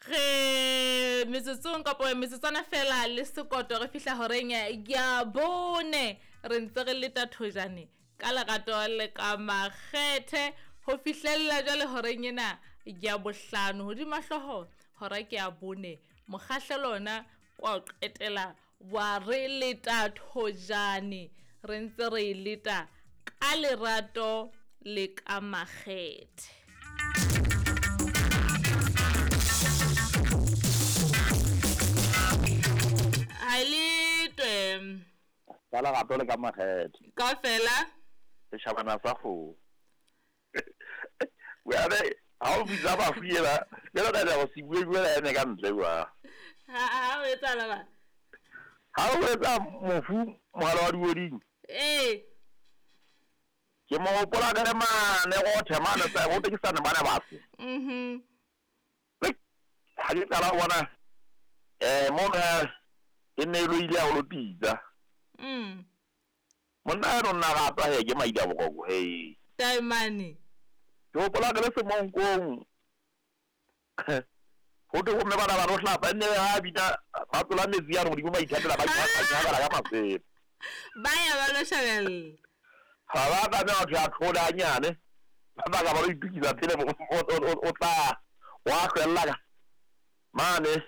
Re metsotsong kapa metsotswana fela le sekoto re fihla horeng ya bone, re ntse re leta thojane ka lerato le ka makgethe ho fihlella jwale horeng ena ya bohlano. Hodima hlooho hora ke ya bone, mokgahlelo ona kwa o qetela wa re leta thojane, re ntse re e leta ka lerato le ka makgethe. Ha e letwe. Ka lerato le ka makgethe. Kaofela. Setjhabana sa kgomo. Jwale ha o bitsa bafu ena, jwale ka go se bue bue ene ka ntle jwa. Ha o etsahala ba? Ha o etsa mofu mogala wa dioding. Ee. Ke mo gopola ka le mane go the mane sa go tekisane bana ba se. Ha ke qala go bona mo e ne e loile ya go lo pitsa. Monna eno nna ga tswa he ke maida boroko he. Taemane. Ke gopola ke le semonkong. Go thwe gomme bana ba no hlapa nne ga bina ba tlola metsi ya godimo ba ithatela ba ithatela ka masela. Ba ya ba lo shabella. Ga ba tlameha batho ya tlhole hanyane ba baka ba lo itukisa pele o tla wa hlwella ka mane.